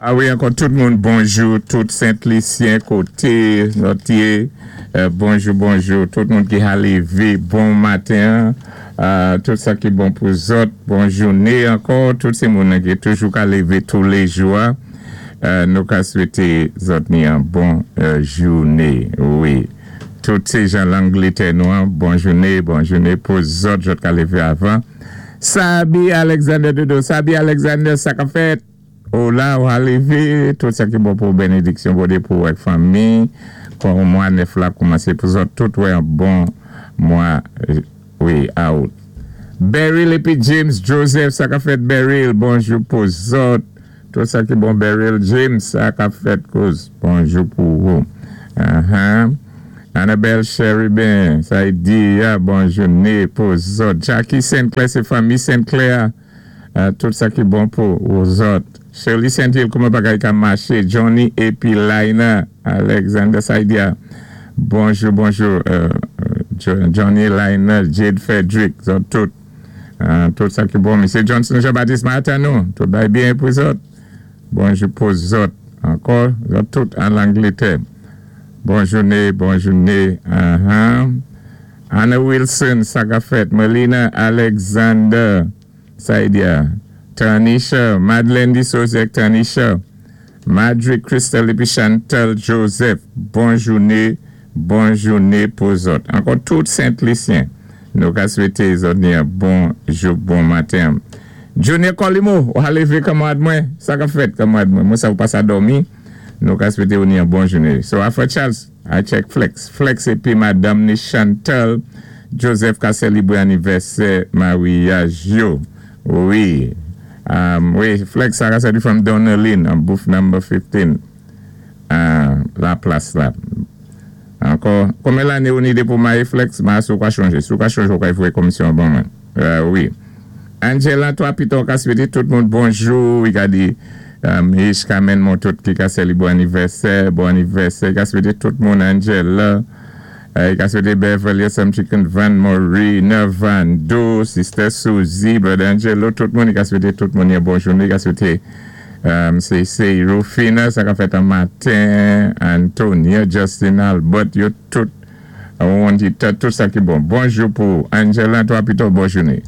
A wi, ankò tout moun bonjou, tout Sent Lisyen koté zòt yé, bonjou bonjou, tout moun ki ka lévé bon maten, tout sa ki bon pou zòt, bon jouné ankò, tout sé moun ki toujou ka lévé touléjou a, nou ka swété zòt ni an bon jouné, wi. Tout sé jan Langlétè nou an, bon jouné, bon jouné pou zòt, zòt ka lévé avan. Sabi Alexander Dodo, Sabi Alexander, sa ka fèt? Ou la, ou a lévé, tout sa ki bon pou bénédiksyon Bondyé pou ak fanmi, kon mwa nèf la koumansé pou zòt tout wè an bon mwa, wi, out. Beryl épi James Joseph, sa ka fèt Beryl, bonjou pou zòt, tout sa ki bon Beryl James, sa ka fèt kouz, bonjou pou ou. Annabelle Cherubin, sa y di ya, bon jouné pou zòt. Jackie Saint Clair, sé fanmi Saint Clair, tout sa ki bon pou zòt. Shirley Saint Hill, kouman bagay ka maché, Johnny épi Laina, Alexander Saidia, bonjou, bonjou, Johnny, Laina, Jade Frederick, zòt tout, tout sa ki bon, Misye Johnson Jean-Baptiste Martin nou, tout bay byen pou zòt, bonjou pou zòt, ankò, zòt tout an Langlétè. Bon jouné, bon jouné. Anna Wilson, sa ka fèt. Melina Alexander, Saidia. Tanisha, Madeleine Disozek, Tanisha. Madrid Crystal épi Chantal Joseph, bon jouné, bon jouné pou zòt. Ankò tout Sent Lisyen, nou ka swété zòt ni an bon jou, bon maten. Junior Colimo, ou a lévé kanmarad mwen, sa ka fèt kanmarad mwen, mwen sa ou pa sa dòmi, nou ka swété ou ni an bon jouné. So Alpha Charles, I check Flex. Flex épi madame ni Chantal Joseph ka sélébré anivèsè maryaj yo. Wi. Wi, Flex sa ka sòti from Donnelly, an booth number 15. La plas la. Ankò, konbyen lanné ou ni dépi ou maryé Flex? Ma si ou ka chonjé. Si ou ka chonjé ou ka voyé komisyon ban mwen. Wi. Angela, toi pito ka swété tout moun bonjou. Wi ka di Ish Kamen moun tout ki ka sélébré bon anivèsè, bon anivèsè. Ka swété tout moun Angela. Ka swété Beverly, Some Chicken, Van Maury, Nervando, Sister Suzy, Brother Angelo, tout moun. Ka swété tout moun yon bon jouné. Ka swété sé Rufina, sa ka fèt an maten, Antonia, Justin Albert, yo tout, on di tout sa ki bon. Bonjou pou Angela, toi pito bon jouné.